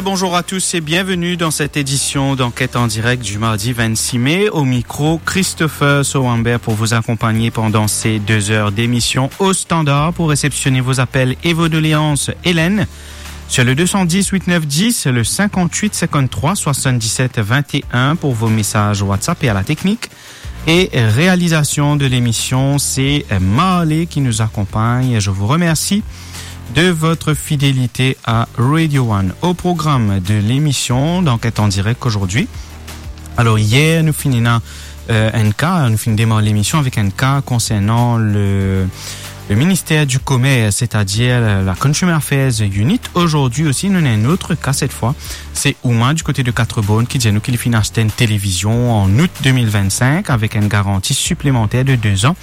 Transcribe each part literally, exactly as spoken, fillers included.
Bonjour à tous et bienvenue dans cette édition d'Enquête en direct du mardi vingt-six mai. Au micro, Christopher Sowamber pour vous accompagner pendant ces deux heures d'émission au standard. Pour réceptionner vos appels et vos doléances, Hélène, sur le deux cent dix huit neuf dix, le cinquante-huit cinquante-trois soixante-dix-sept vingt et un pour vos messages WhatsApp et à la technique. Et réalisation de l'émission, c'est Marley qui nous accompagne. Je vous remercie de votre fidélité à Radio One. Au programme de l'émission, donc, est en direct aujourd'hui. Alors, hier, nou finn ena, euh, enn ka, nou finn demar lemision avek enn ka konsernan le, le ministère du Commerce, c'est-à-dire la, la Consumer Affairs Unit. Aujourd'hui aussi, nou ena enn lot ka, cette fois, se Ouma, du côté de Quatre-Bornes, ki dir nou ki li finn aste enn televizion an out de mil vinn-sink avek enn garanti siplemanter de de zan.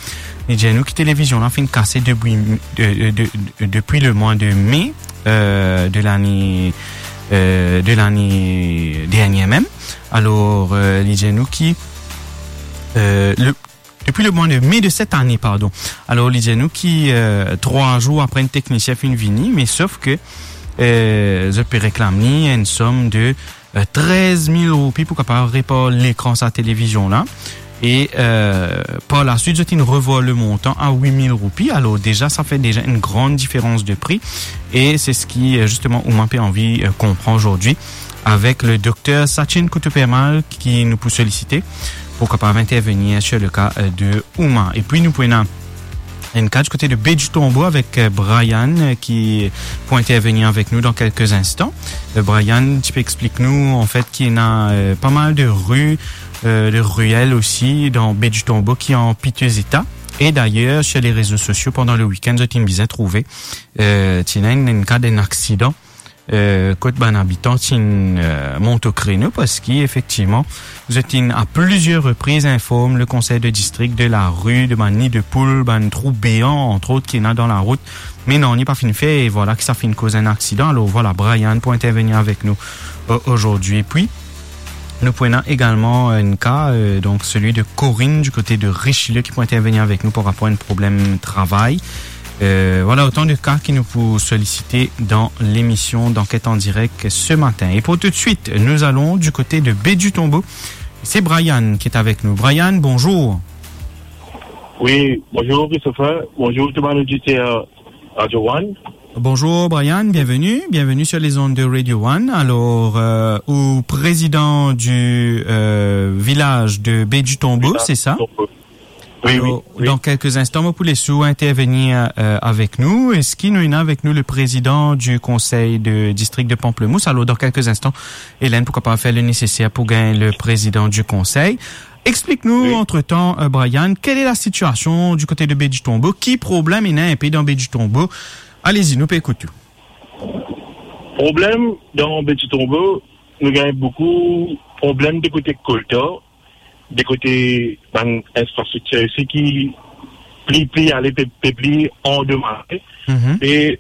Li dir nou ki televizion la finn kase depi, de, de, de, depi le mwa de me, euh, de lane, euh, de lane dernie mem. Alor, euh, li dir nou ki, euh, le, depi le mwa de me de set ane, pardon. Alor, li dir nou ki, euh, trwa zour apre enn teknisien finn vini, me sof ke, euh, zot pe reklam li enn som de, euh, trez mil roupi pou kapav repar lekran sa televizion la. E, euh, par la suite, zot inn revwar le montan a wit mil roupi. Alor, deza, sa fer deza enn gran diferans de pri. E se seki, euh, zisteman, Ouma pe anvi, euh, konpran zordi avek le dokter Sachin Kutupermal ki nou pou solisite pou kapav intervenir sur le ka, euh, de Ouma. Epi nou pou ena enn ka du kote de Baie du Tombeau avek, euh, Brian, euh, ki pou intervenir avek nou dan kelke instan. Euh, Brian, ti pe explik nou, an fet, ki ena, euh, pa mal de ri, euh, de riel osi dan Baie du Tombeau ki an pitye eta. E dayer, sur les réseaux sociaux, pandan le week-end, zot inn bizin trouve, euh, ti ena enn, enn ka d'enn aksidan, euh, kot bann abitan ti inn, euh, mont o kreno, parski efektivman, zot inn a plizier repriz inform le konsey de distrik de lari, de bann ni de poul, bann trou bean, antrot, ki ena dan larout. Me non, li pa finn fer, e vwala ki sa finn koz enn aksidan. Alor vwala, Brian pou intervenir avek nou, euh, zordi. Epi, nou pou ena egalman enn ka, euh, donk seli de Corinne, du kote de Richelieu, ki pou intervenir avek nou par rapor a enn problem travay. Euh, vwala otan de ka ki nou pou solisite dan lemision d'Enquête en direct ce matin. Et pour tout de suite, nous allons du côté de Baie du Tombeau. C'est Brian qui est avec nous. Brian, bonjour. Oui, bonjour Christopher. Bonjour tout bann oditer Radio One. Bonjour Brian, bienvenue, bienvenue sur les ondes de Radio One. Alors, euh, ou président du, euh, village de Baie du Tombeau, c'est ça? Village Tombeau. Oui, oui, oui. Alors, dans quelques instants, mo pou les ou intervenir, euh, avec nous. Eski nou ena avek nou le président du conseil de district de Pamplemousse? Alors, dans quelques instants, Hélène pou kapav fer le nécessaire pou gagn le président du conseil. Explik nou, oui, entre-temps, euh, Brian, quelle est la situation du côté de Baie du Tombeau? Ki problem ena inpe dan Baie du Tombeau? Allez-y, nou pe ekout ou. Problem dan Baie du Tombeau, nou gagn boukou problem de kote kolta, de kote bann infrastriktir osi ki pli, pli ale pe, pe pli andomaze. Mhm. E,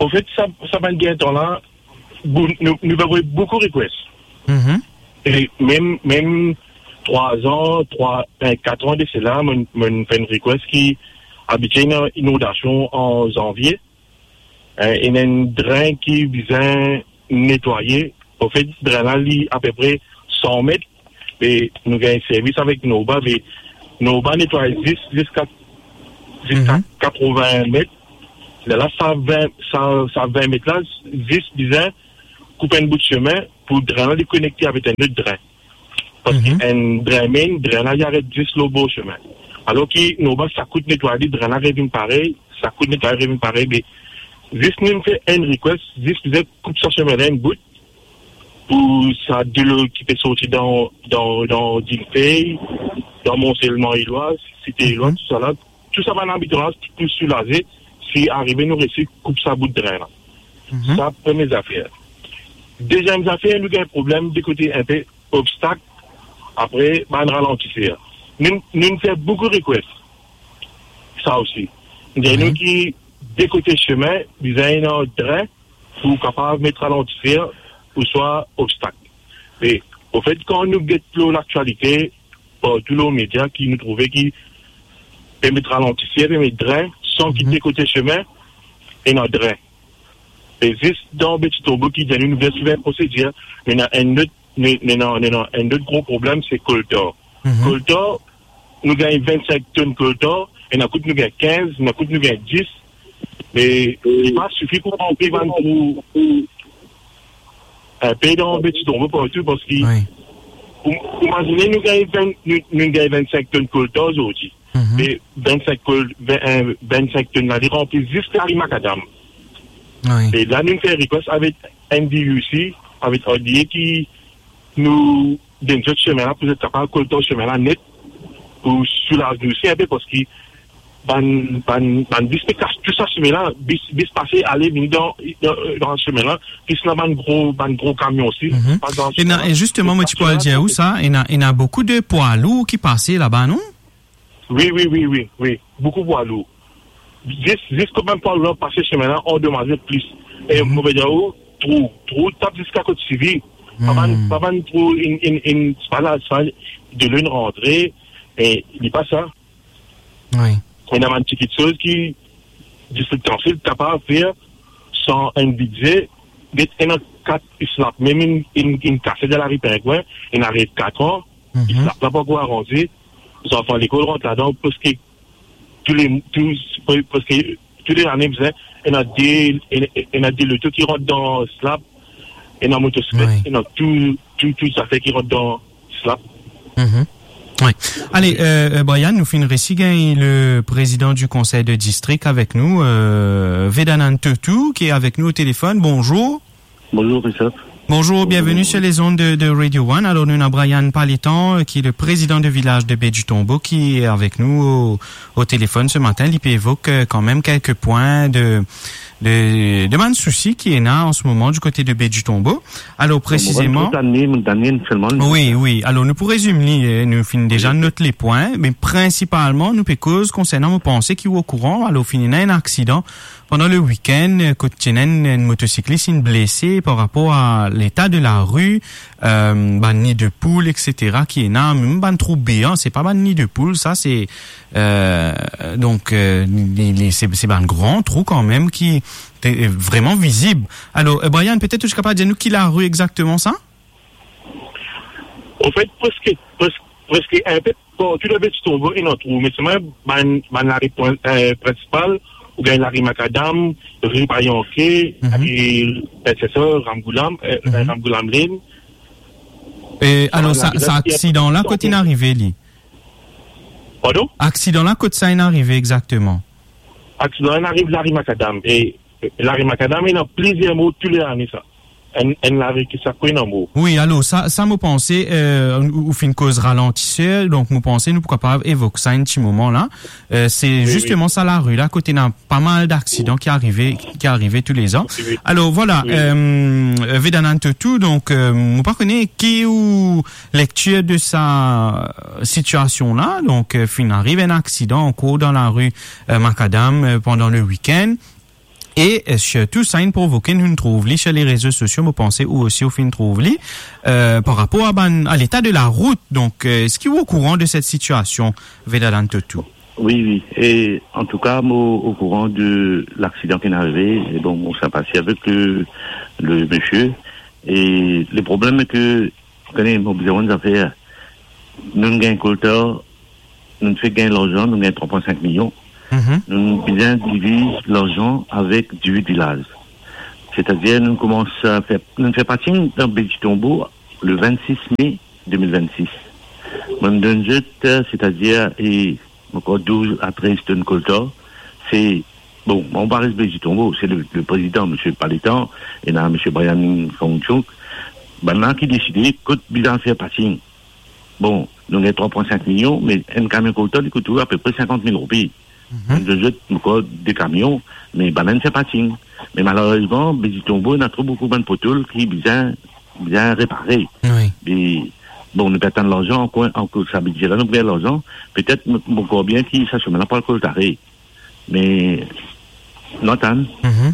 an fet, sa, sa bann gagn tan la, bou-, nou, nou pe avoy boukou request. Mhm. E mem, mem trwa an, trwa, eh, kat an de sela, mo, mo fer enn request ki abitie ena inondasion an zanvie. Eh, ena enn drin ki bizin netwaye. An fet, drin la, li apepre san met, e nou gagn servis avek Norba, me Norba netway zis, ziska, ziska, mhm, katrovin met. Lerla sa vin, sa, sa vin met la, zis bizin koup enn bout sime pou drin la li konekte avek enn lot drin. Parski, mhm, enn drin main, drin la li aret zis lor bor sime. Alor ki Norba, sa kout netway li, drin la revinn parey, sa kout netway revinn parey, me zis nou fer enn request, zis bizin koup sa sime la enn bout, pou sa delo ki pe sorti dan, dan, dan Difey, dan Mont Selman Eloiz, Site Eloiz, mhm, tousala, tou sa bann abitan la pou soulaze, si arive nou resi koup sa bout drin la. Mhm. Sa premie zafer. Deziem zafer, nou gagn problem de kote inpe obstak, apre bann ralantiser. Nou, nou fer boukou request. Sa osi. Nou dir nou, mhm, ki de kote sime, bizin ena drin, pou kapav met ralantiser ouswa obstak. E, an fet, kan nou get lor laktialite, partou lor media ki nou trouve ki pe met ralantiser, pe met drin, san ki, mhm, de kote sime, ena drin. E zis dan Petit Tombeau ki dir nou, nou bizin swiv enn prosedir, me ena enn lot, me, me ena, me ena enn lot gro problem, se koltar. Mhm. Koltar, nou gagn vinn-sink tonn koltar, ena kout nou gagn kinz, ena kout nou gagn dis, me li pa sifi pou ranpli bann trou. Enpe dan Petit Tombeau partou, parski Wi. ou, ou imazine nou gagn vinn, nou, nou gagn vinn-sink tonn koltar zordi. Mhm. E vinn-sink kol-, vinn, eh, vinn-sink tonn la, li ranpli zis lari Makadam. Wi. E la, nou fer request avek N D U C, avek R D A ki nou donn zot semin la, pou zot kapav koltar semin la net, pou soulaz nou osi enpe, parski bann, bann, bann bis pe kas tou sa semin la, bis, bis pase, ale, vini dan, dan, dan semin la, plis ena bann gro, bann gro kamion osi. Mhm. Pas dan E na, semin la. e zisteman, mo ti pou al dir ou sa, ena, ena boukou de pwa lour ki pase laba, non? Wi, wi, wi, wi, wi. Boukou pwa lour. Zis, zis kan bann pwa lour la pase semin la, andomaze plis. E Mhm. mo pe dir ou, trou, trou tap ziska kot sivi. Pa bann, Hmm. pa bann trou, in, in, in, pa la, sa, delo inn rantre, e li pa sa. Wi. Ena bann ti kiksoz ki distrik Tansil kapav fer san enn bidze, get ena kat slab, mem inn, inn, inn kase dan lari Pingwin, ena res kat an, Mhm. slab la pankor aranze, zanfan lekol rant ladan, preske tou le, tou, pre-, preske tou le lane, bizin, ena de, ena, ena de loto ki rant dan slab, ena motosiklet, Wi. ena tou, tou, tou zafer ki rant dan slab. Mhm. Wi. Ale, euh, euh, Brian, nou finn resi gagn le président du conseil de district avek nou, euh, Vedanand Totou, ki avek nou o telefon. Bonzour. Bonzour, Christophe. Bonjour, bienvenue sur les ondes de, de Radio One. Alors, nou ena Brian Palitan, euh, ki le président de vilaz de Baie du Tombeau, ki avek nou o, o telefon se matin. Li pe evok, euh, kanmem kelke pwin de, de, de bann sousi ki ena an se moman du kote de Baie du Tombeau. Alors, Bon, presizeman, mo bann trant lane, mo donn selman. Wi, wi. Alors, nou pou rezim li, eh, nou finn deza Wi. not le pwin, me prinsipalman, nou pe koz konsernan, mo panse ki ou okouran, alors, finn ena enn aksidan pandan le week-end, eh, kot ti ena enn, enn motosiklis inn blese par rapor a leta de lari, euh, bann ni de poul, et cetera, ki ena, mem bann trou bean, se pa bann ni de poul, sa, se, euh, donk, euh, li, li, se, se bann gran trou kanmem ki, te, vreman vizib. Alors, euh, Brian, petet ou ti kapav dir nou ki lari exakteman sa? Anfet, preske, pres-, preske enpe partou dan Baie du Tombeau ena trou, me selman bann, bann lari prin-, eh, prinsipal, ou gagn lari Makadam, ri Payanke, Mhm. e, et cetera, Ramgoolam, eh, Mhm. Ramgoolam Lane. E alors, Bann sa, lari sa la, aksidan la, kot inn arive li? Pardon? Aksidan la, kot sa inn arive exakteman? Aksidan la inn arive lari Makadam, e, e lari Makadam, ena plizier mor tou le lane sa. Enn, enn lari ki sa, ena mor. Wi, alors, sa, sa mo panse, euh, ou, ou finn koz ralantiser, donk mo panse nou pou kapav evok sa enn ti moman la. Euh, se Wi, wi. zisteman sa lari la, kot ena pa mal daksidan ki arive, ki arive tou le zan. Wi, wi. Alors, vwala, Wi. euh, Vedanand Totou, donk, euh, mo pa kone ki ou lektir de sa sitiasion la, donk, euh, finn ariv enn aksidan ankor dan lari, euh, Makadam, euh, pandan le week-end. E, euh, sirtou, sa inn provoke, nou trouv li sur les réseaux sociaux, mo panse ou osi ou finn trouv li, euh, par rapor a bann, a leta de larout. Donk, euh, eski ou okouran de set sitiasion, Vedanand Totou? Wi, wi. E antouka, mo okouran de laksidan ki inn arive. E bon, mo sinpati avek le, le misie. E le problem, se ke, ou kone, mo bizin enn zafer. Nou gagn koltar, nou fek gagn larzan, nou gagn trwa pwin sink milion. Mhm. Nou bizin diviz larzan avek dizuit vilaz. Setadir, nou koumans a fer, nou fer parking dan Baie du Tombeau le vennsis me de mil vennsis. Mo donn zot, setadir, e, ankor douz a trez tonn koltar. Se, bon, mo pa res Baie du Tombeau, se le, le prezidan, misie Palitan, ena misie Brian Kongchuk, bannla ki deside kot bizin fer parking. Bon, nou gagn trwa pwin sink milion, me enn kamion koltar, li kout ou apepre sinkant mil roupi. Mhm. Enn zot, ankor de kamion, me bannla inn fer parking. Me malerezman, Baie du Tombeau, ena tro boukou bann potol ki bizin, bizin repare. Wi. E, bon, nou pe atann larzan, ankor, ankor sa bidze la, nou pe gagn larzan. Petet, nou, nou krwar bien ki sa semin la pou al koltare. Me, nou atann. Mhm.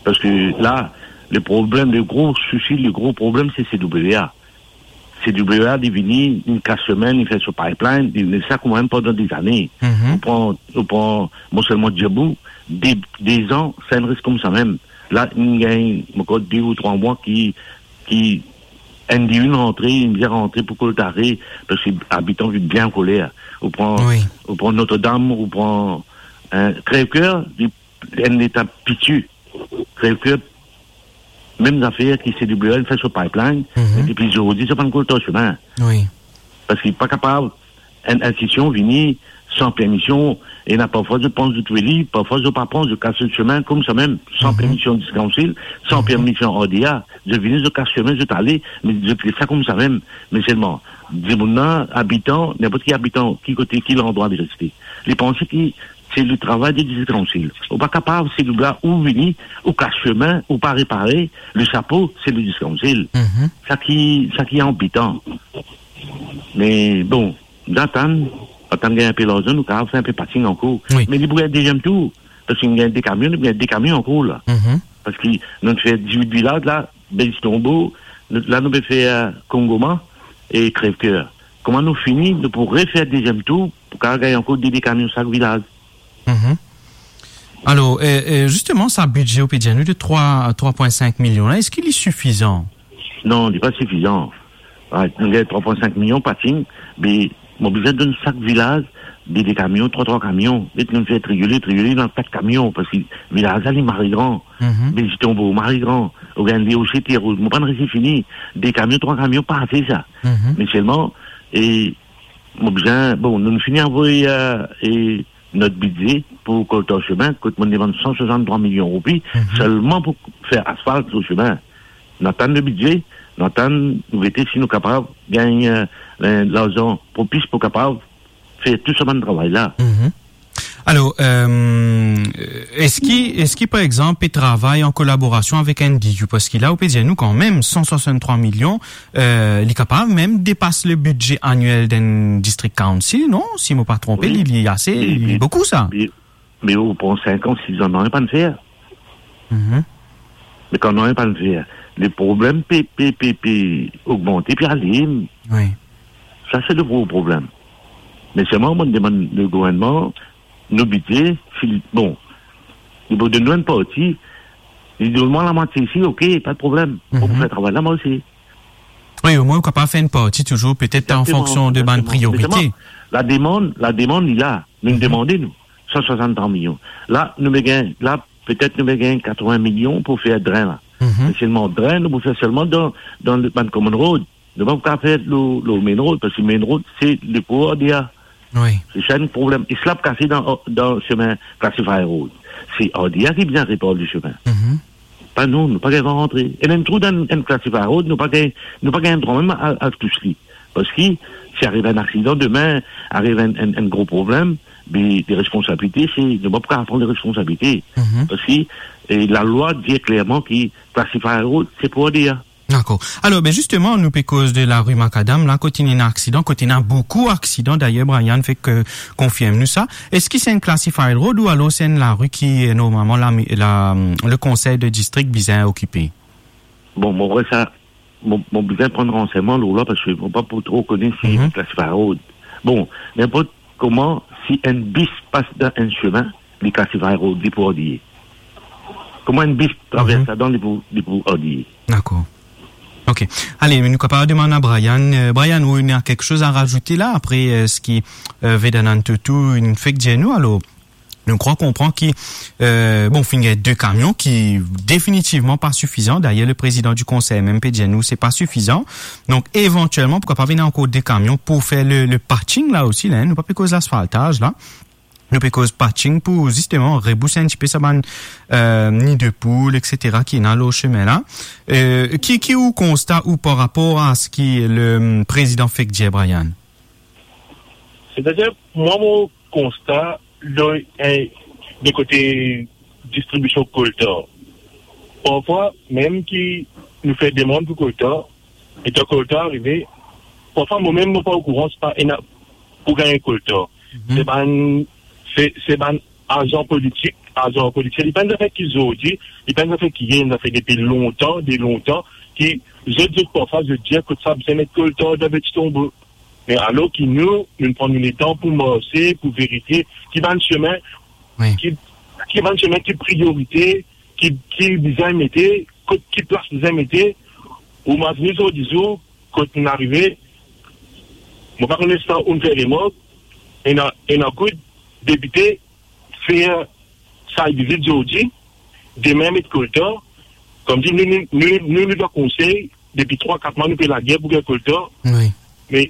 Parski la, le problem, le gro sousi, le gro problem, se C W A. C W A, li vini, li kas semin, li fer so pipeline, li, li sa koumsa mem pandan de zane. Mhm. Ou pran, ou pran, non selman Djabou, de, de zan, sa inn res koumsa mem. La, inn gagn ankor de ou trwa mwa ki, ki enn dimoun rantre, inn bizin rantre pou koltare, parski abitan vinn bien ankoler. Ou pran, Wi. ou pran Notre-Dame, ou pran, hein, Crèvecoeur, li enn leta piti. Crèvecoeur, mem zafer ki C W L fer so pipeline, Mhm. me depi zordi, zot pa'nn koltar sime. Wi. Parski pa kapav enn institision vini san permision, ena parfwa zot pran zot veli, parfwa zot pa pran, zot kas zot sime koumsa mem, san Mhm. permision District Council, san Mhm. permision R D A, zot vini, zot kas sime, zot ale, me zot les sa koumsa mem. Me selman, dimoun la, abitan, ninport ki abitan, ki kote, ki landrwa li reste, li panse ki se le travay de District Council. Ou pa kapav, se le bla ou vini, ou kas sime, ou pa repare, le sapo, se le District Council. Mhm. Sa ki, sa ki anbetan. Me bon, nou atann, atann gagn inpe larzan, nou kapav fer inpe patching ankor. Wi. Me li pou gagn deziem tour, parski nou gagn de kamion, nou gagn de kamion ankor la. Mhm. Parski nou fer dizuit vilaz la, Bel Tonbo, nou, la nou pe fer, euh, Kongoma e Crèvecoeur. Kouma nou fini, nou pou refer deziem tour, pou kapav gagn ankor de, de kamion sak vilaz. Mhm. Alor, euh, euh, zisteman, sa bidze, ou pe dir nou, de trwa, trwa pwin sink milion la, eski li sifizan? Non, li pa sifizan. Right, nou gagn trwa pwin sink milion patching, me mo bizin donn sak vilaz de, de kamion, trwa, trwa kamion. Met nou fer triyole, triyole dan kat kamion, parski vilaz la, li mari gran. Mhm. Bel Tonbo, mari gran. Ou gagn li osi, Terre Rouge. Mo pa'nn resi fini. De kamion, trwa kamion, pa ase sa. Mhm. Me selman, e mo bizin, bon, nou fini avoy, euh, e not bidze pou koltar sime, kot mo demann san swasanntrwa milion roupi, Mhm. selman pou fer asfalt lor sime. Nou atann le bidze, nou atann, nou gete si nou kapav gagn, euh, euh, larzan propis pou kapav fer tou sa bann travay la. Mhm. Alor, euh, eski, eski, par exanp, pe travay an kolaborasion avek N D U? Parski la, ou pe dir nou kanmem, san swasanntrwa milion, euh, li kapav mem depas le bidze aniel d'enn District Council, non? Si mo pa tronpe, Wi. li, li ase, Wi, li wi. boukou sa. Wi. Me ou pran sink an, sis an, nanye pa'nn fer. Mhm. Me kan nanye pa'nn fer, le problem pe, pe, pe, pe ogmante, pe ale. Wi. Sa, se le gro problem. Me selman, mo demann le gouvernman, nou bidze, si li, bon, li pou donn nou enn parti, li donn mwa lamwatie isi, ok, pa de problem. Mo pou Mhm. fer travay la, mwa osi. Wi, omwin ou kapav fer enn parti touzour, petet an Egzakteman, fonksion de bann egzakteman. priorite. Me selman, lademann, lademann, li la. Nou Mhm. demande, nou, san swasanntrwa milion. La, nou pe gagn, la, petet nou pe gagn katrevin milion pou fer dren la. Mhm. Me selman dren, nou pou fer selman dan, dan le, bann common road. Nou pa pou kapav fer lor, lor main road, parski main road, se le pou R D A. Wi. Se sa enn problem. E sla pou kase dan, dan sime classified road. Se R D A ki bizin repar le sime. Mhm. Pa nou, nou pa gagn drwa rantre. E mem trou dan enn classified road, nou pa gagn, nou pa gagn drwa mem al, al tous li. Parski si ariv enn aksidan demin, ariv enn, enn, enn gro problem, be, de responsabilite, se, nou pa pou kapav pran de responsabilite. Mhm. Parski, e, lalwa dir klerman ki classified road, se pou R D A. Dakor. Alor, be, zisteman, nou pe koz de lari Makadam, la, kot ena aksidan, kot ena boukou aksidan, dayer, Brian fek, euh, konfirm nou sa. Eski se enn classified road ou alor se enn lari ki, euh, normalman, la, la, le konsey de distrik bizin okipe? Bon, mo krwar sa, mo, mo bizin pran ransegnman lor la, parski mo pa pou tro kone si Mhm. classified road. Bon, ninport kouma, si enn bis pas dan enn sime, li classified road, li pou R D A. Kouma enn bis travers Mhm. ladan, li pou, li pou R D A. Dakor. Ok. Ale, me nou kapav demann a Brian. Euh, Brian, ou ena kiksoz a razoute la, apre, euh, seki, euh, Vedanand Toto inn fek dir nou, alor? Nou krwar konpran ki, euh, bon, finn gagn de kamion ki definitivman pa sifizan. Dayer, le prezidan di konsey mem pe dir nou se pa sifizan. Donk, evantielman, pou kapav ena ankor de kamion pou fer le, le patching la osi, la, hein, nou pa pe koz lasfaltaz la. Nou pe koz patching pou, zisteman, rebouse enn tipe sa bann, euh, nid poul, et cetera, ki ena lor sime la. Euh, ki, ki ou konsta ou par rapor a seki le, mm, prezidan fek dir, Brian? Setadir, mwa, mo konsta, dan, eh, de kote distribision koltar. Parfwa, mem ki nou fer demann pou koltar, letan koltar arive, parfwa, mo mem, mo pa okouran, se pa ena pou gagn koltar. Mhm. Se bann, se, se bann azan politik, azan politik. Li pa enn zafer ki zordi, li pa enn zafer ki yer, enn zafer depi lontan, de lontan, ki zot, zot parfwa, zot dir kot sa bizin met koltar dan Bel Tonbo. Me alor ki nou, nou pran nou letan pou marse, pou verifie ki bann sime, Wi. ki, ki bann sime ki priyorite, ki, ki bizin mete, kot ki plas bizin mete, ou mazine zordi zour, kot nou arive, mo pa kone si ou'nn fer remark, ena, ena kout depite fer site visit zordi, demin met koltan, koumsi nou, nou, nou, nou, nou dan konsey, depi trwa, kat mwa nou pe lager pou gagn koltan. Wi. Me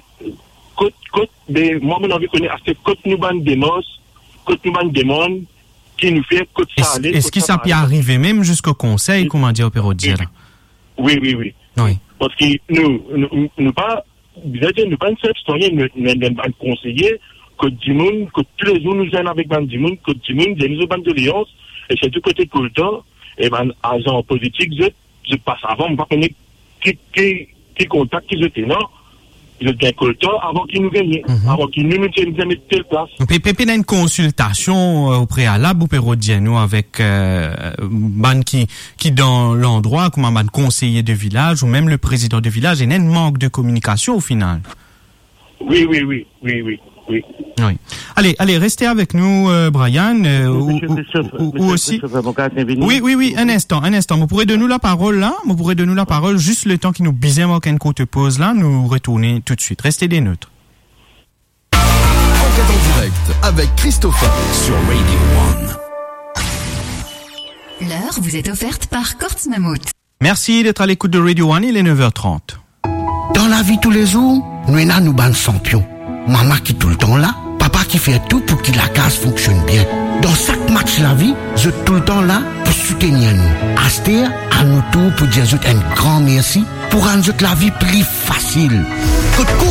kot, kot, me mwa, mo anvi kone aster kot nou bann demars, kot nou bann demann, ki nou fer, kot sa ale, eski kot sa sa pe arive mem ziska konsey, wi, kouma dir Perot dir la? Wi, wi, wi. Wi. Parski nou, nou, nou pa, bizin dir, nou pa enn sinp sitwayin, nou, nou, nou bann konseye, kot dimoun, kot toulezour nou zwenn avek bann dimoun, kot dimoun, dir nou zot bann doleans, e sirtou kote koltan, e bann azan politik, zot, zot pas avan, mo pa kone ki, ki, ki kontak ki zot ena, zot gagn koltan avan ki nou gagne, mhm, avan ki nou, nou ti ena met tel plas. Pe, pe, pena enn konsiltasion, euh, o prealab, ou pe rod dir nou avek, euh, bann ki, ki dan landrwa, kouma bann konseye de vilaz ou mem le prezidan de vilaz, ena enn mank de kominikasion o final? Wi, wi, wi, wi, wi, wi. Wi. Ale, ale, reste avek nou, euh, Brian, euh, ou, ou, ou, ou osi. Wi, wi, wi, enn instan, enn instan. Mo pou redonnen ou laparol la, mo pou redonnen ou laparol zis letan ki nou bizin mark enn kourt poz la, nou retourne toutswit. Reste des nôtres. Enquête en direct avec Christopher sur Radio One. L'heure vous est offerte par Courts Mammouth. Merci d'être à l'écoute de Radio One, il est neuf heures trente. Dan lavi toulezour, nou ena nou bann sanpion. Mama ki toultan la, papa ki fer tou pou ki lakaz fonksionn bien. Dan sak match lavi, zot toultan la pou soutenir nou. Aster, a nou tour pou dir zot enn gran mersi pou rann zot lavi pli fasil. Kot